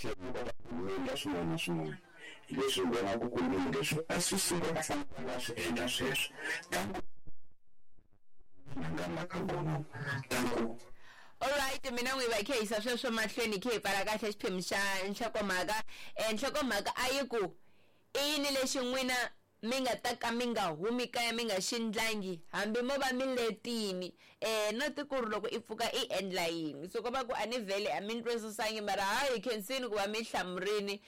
Kahle mi kota ku lungha swin'wana na swin'wana. Hi leswi hi vonaka ku lunghe swi a swi sungula va fanele va swi endla sweswo. Than ku nga mhaka kona than ku Alright mina n'wi va khe yisa sweswo mahlweni khe hi pfala kahle xiphemu xa nhlokomhaka. Nhlokomhaka a yi ku i yini lexi n'wina mi nga ta ka mi nga humi kaya mi nga xi ndlangi hambi mo va mi letini not ku ri loko i pfuka i endla yini so ko va ku a ni vhele a mi ni twisisangi mara hayi khensini ku va mi hlamurini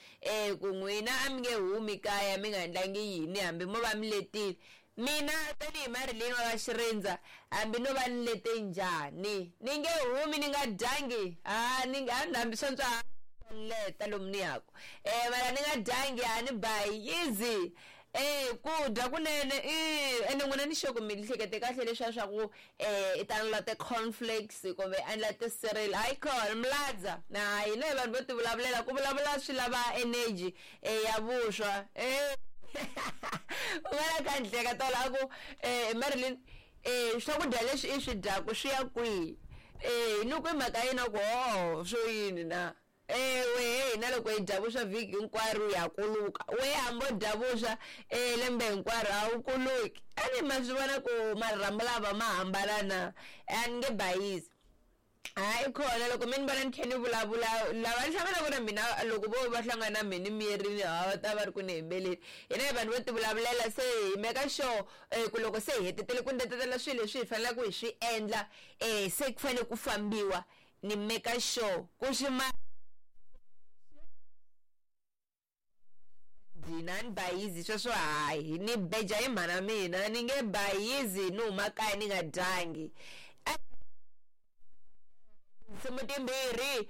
ku n'wina a mi nge humi kaya mi nga endlangi yini hambi mo va mi letile mina tanihi Marilyn wa ka Xirindza hambi no va ni lete njhani ni nge humi ni nga dyangi ha ni hambi swantswa leta lomu ni yaku mara ni nga dyangi a ni bayizi ku dya kunene ene n'wina ni sure ku mi hlekete kahle leswiya swa ku i ta endla ti-cornflakes kumbe endla ti-cereal hayi khona miladza na hina hi vanhu vo ti vulavulela ku vulavula swi lava energy ya vuswa un'wana kha ni hleka tolo a ku Marilyn swakudya leswi i swi dyaku swi ya kwihi ni ku i mhaka yini a ku ho swo yini na wehe hina loko hi dya vuswa vhiki hinkwaro ya kuluka wehe hambi o dya vuswa lembe hinkwaro a wu kuluki a ni ma swi vona ku marhambu lava ma hambana na a ni nge bayizi hayi khona loko mi ni vona ni kha ni vulavula lava ni hlanganaka na mina loko vo va hlangana na mina mirini ha va ta va ri ku ni hembeleni hina hi vanhu vo ti vulavulela se hi meka sure ku loko se hi hetetele ku ndetetela swilo leswi hi faneleke hi swi endla se ku fanele ku fambiwa ni meka sure ku swi ma dina ni bayizi sweswo hayi ni beja hi mhana mina ni nge bayizi ni huma kaya ni nga dyangi tinsimu timbirhi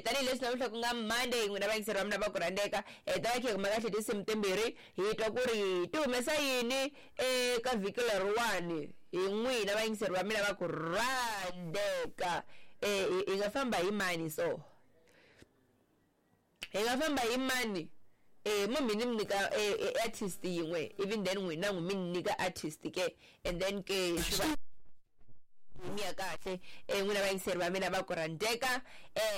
tanihileswi namuntlha ku nga Monday n'wina vayingiseri va mina va ku rhandzeka ta va khe hi kuma kahle tinsimu timbirhi hi twa ku ri ti humesa yini eka vhiki leriwani hi n'wina vayingiseri va mina va ku rhandzeka hi nga famba hi mani so hi nga famba hi mani mo mi ni nyika artist yin'we ivi then n'wina n'wi mi ni nyika artist ke and then ke swi va mi ya kahle n'wina vayingiseri va mina va ku rhandzeka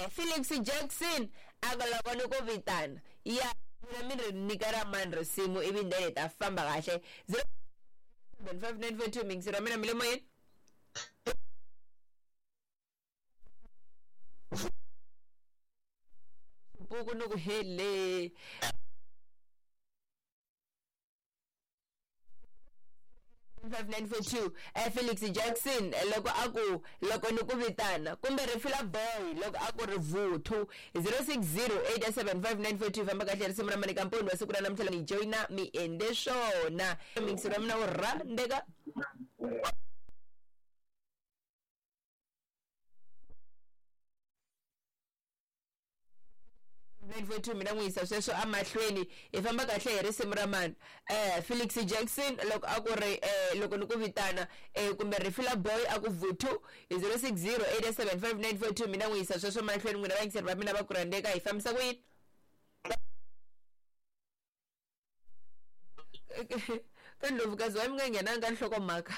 Felix Jackson a nga loko ni ku vitana ya mina mi ri nyika ra mani risimu ivi then hi ta famba kahle 075942 muyingiseri wa mina mi le moyeni buku ni ku hele 5942 Felix Jackson loko a ku loko ni ku vitana kumbe Rifila Boy loko a ku ri vuthu 06087594 famba kahle risimu ra Manika Mponi wa siku ra namuntlha ni joyina mi endle swona mixi ra mina wu rhandzeka mina n'wi yisa sweswo emahlweni hi famba kahle hi risimu ra mani Felix Jackson loko a ku ri loko ni ku vitana kumbe Rifila Boy a ku vuthu hi 0608759442 mina n'wi yisa sweswo mahlweni n'wina vayingiseri va mina va ku rhandzeka hi fambisa ku yini ka ndlovukazi wa mi nga nghenanga ka nhlokomhaka.